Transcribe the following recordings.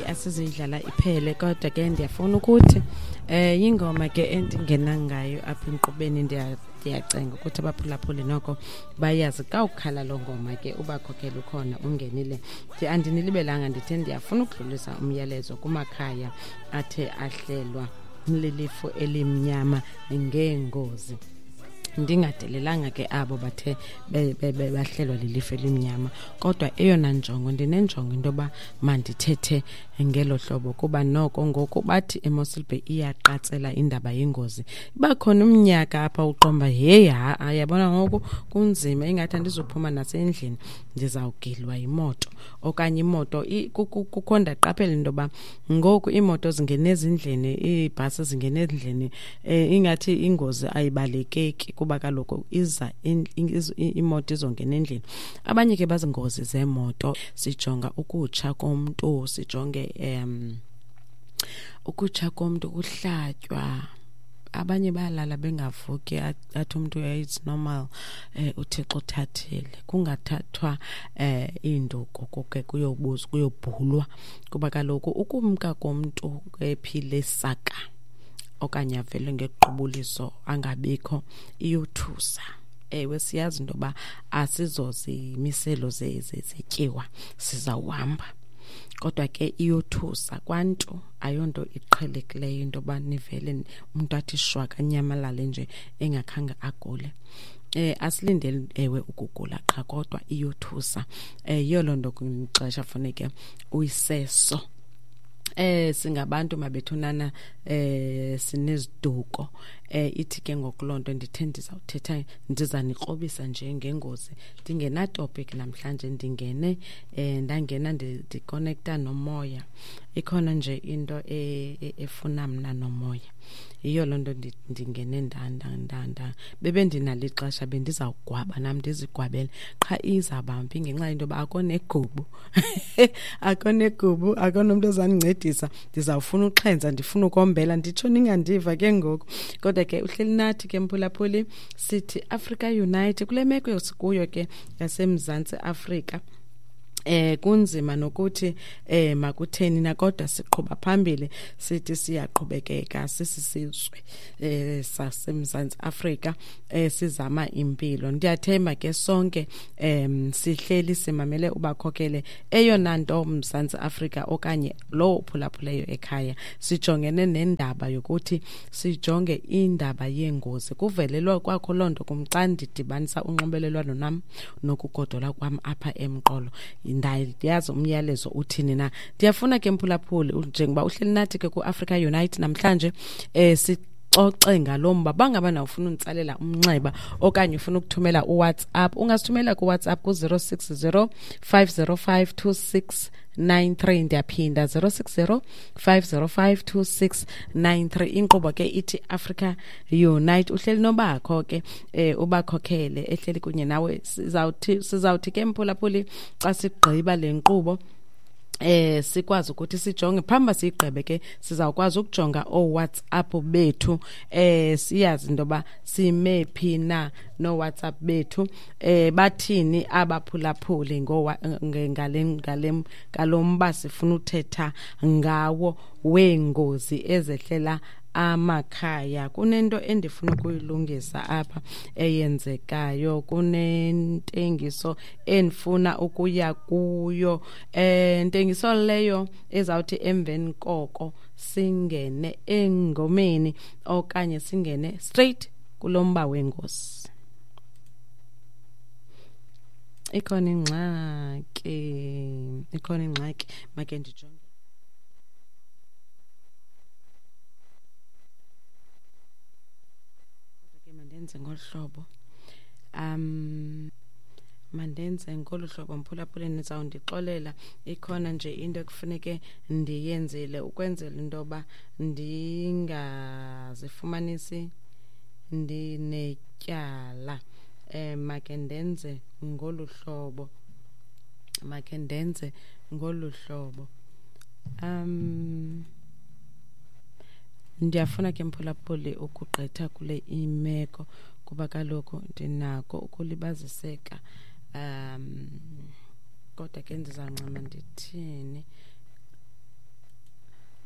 Asizuyidlala iphele, kodwa ke ndiyafuna ukuthi yingoma ke endingena ngayo apha enkqubeni. Ndiyacenga ukuthi abaphulaphuli noko bayazi xa ukhala loo ngoma ke ubakhokhela ukhona ungenile. Andinilibelanga, ndithe ndiyafuna ukudlulisa umyalezo kumakhaya athe ahlelwa lilifu elimnyama ngeengozi, ndingadelelanga ke abo bathe bahlelwa lilifu elimnyama, kodwa eyona njongo ndinenjongo into yoba mandithethe ngelo hlobo, kuba noko ngoku bathi eMossel Bay iyaqatsela indaba yengozi. Iba khona umnyaka apha uqomba, heyi, ha-a, yabona ngoku kunzima, ingathi andizuphuma nasendlini, ndizawugilwa yimoto okanye imoto. Kukho ndaqaphela into yoba ngoku iimoto zingena ezindlini, iibhasi zingena ezindlini, ingathi ingozi ayibalekeki kuba kaloku iza imoto izongena endlini. Abanye ke bazingozi zeemoto, sijonga ukutsha komntu, sijonge ukutsha komntu, kuhlatywa, abanye bayalala bengavuki, athi umntu it's normal, uThixo uthathile, kungathathwa iinduku kuke kuyobuzwa, kuyobhulwa, kuba kaloku ukumka komntu ephile saka okanye avele ngequbuliso angabikho iyothusa. Ewe, siyazi into yoba asizozimiselo zetyiwa, sizawuhamba, kodwa ke iyothusa kwantu, ayonto iqhelekileyo into yoba nivele umntu athi shwaka anyamalale nje engakhange agule. Asilindeli ewe ukugula qha, kodwa iyothusa. Yiyo loo nto kwixesha funeke uyiseso. Singabantu mabethunana, sineziduko. Ithi ke ngoku loo nto ndithe ndizawuthetha, ndizanikrobisa nje ngengozi. Ndingena topic namhlanje, ndingene ndangena ndikonekta nomoya. Ikhona nje into efuna mna nomoya. Yiyo loo nto ndingene nda bebe ndinalo ixesha bendizawugwaba nam ndizigwabele, qha izawuba mbi ngenxa yento yoba akho negubu, akho negubu, akho nomntu ozandincedisa. Ndizawufuna uxhentsa, ndifuna ukombela, nditsho ningandiva ke ngoku. Kodwa ke uhleli nathi ke mphulaphuli, sithi Africa Unite kule meko sikuyo ke yaseMzantsi Afrika. Kunzima nokuthi makutheni na, kodwa siqhuba phambili, sithi siyaqhubekeka sisisizwe saseMzantsi Afrika, sizama impilo. Ndiyathemba ke sonke sihleli simamele ubakhokele. Eyona nto Mzantsi Afrika okanye lowo uphulaphuleyo ekhaya, sijongene nendaba yokuthi sijonge indaba yengozi. Kuvelelwa kwakho loo nto kum xa ndidibanisa unxibelelwano nam nokugodola kwam apha emqolo, ndiyazi umyalezo uthini na. Ndiyafuna ke mphulaphuli, njengoba uhleli nathi ke ku-Africa Unite namhlanje, sixoxe ngalo mba. Bangaba na ufuna unditsalela umnxeba okanye ufuna ukuthumela uWhatsApp, ungasithumela kuWhatsApp ku-060 505 2693. Ndiyaphinda, 060 505 2693. Inkqubo ke ithi Africa Unite, uhleli nobakho ke ubakhokhele ehleli kunye nawe. Sizawuthi ke mphulaphuli xa sigqiba le nkqubo sikwazi ukuthi sijonge phambi siyigqibe ke, sizawukwazi ukujonga ooWhatsApp bethu, siyazi into yoba sime phi na nooWhatsApp bethu, bathini abaphulaphuli ngale ngale ngalo mba sifuna uthetha ngawo weengozi ezehlela amakhaya. Kunento endifuna ukuyilungisa apha eyenzekayo, kunentengiso endifuna ukuya kuyo, ntengiso leyo ezawuthi emveni koko singene engomeni okanye singene straight kulomba wengozi. Ikhona ingxaki, ikhona ingxaki, make ndijonge. Kodwa ke mandenze ngolu hlobo, mandenze ngolu hlobo mphulaphuli, nizawundixolela, ikhona nje into ekufuneke ndiyenzile ukwenzela into yoba ndingazifumanisi ndinetyala. Make ndenze ngolu hlobo, make ndenze ngolu hlobo. Ndiyafuna ke mphulaphuli ukugqitha kule imeko kuba kaloku ndinako ukulibaziseka, kodwa ke ndizawuncama ndithini.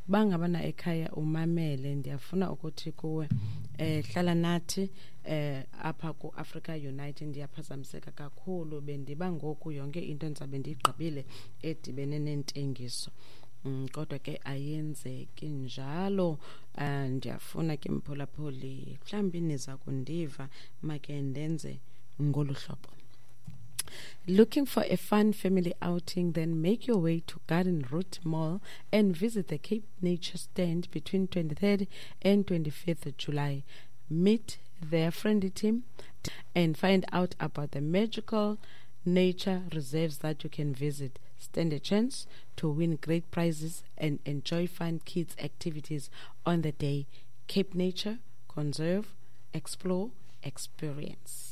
Uba ngabana ekhaya umamele, ndiyafuna ukuthi kuwe hlala nathi apha ku-Africa Unite. Ndiyaphazamiseka kakhulu, bendiba ngoku yonke into endizabe ndiyigqibile edibene nentengiso. Kodwa ke ayenzeki njalo. Ndiyafuna ke mphulaphuli, mhlawumbi niza kundiva, make ndenze ngolu hlobo. Looking for a fun family outing? Then make your way to Garden Route Mall and visit the Cape Nature Stand between 23rd and 25th July. Meet their friendly team and find out about the magical nature reserves that you can visit. Stand a chance to win great prizes and enjoy fun kids activities on the day. Cape Nature, conserve, explore, experience.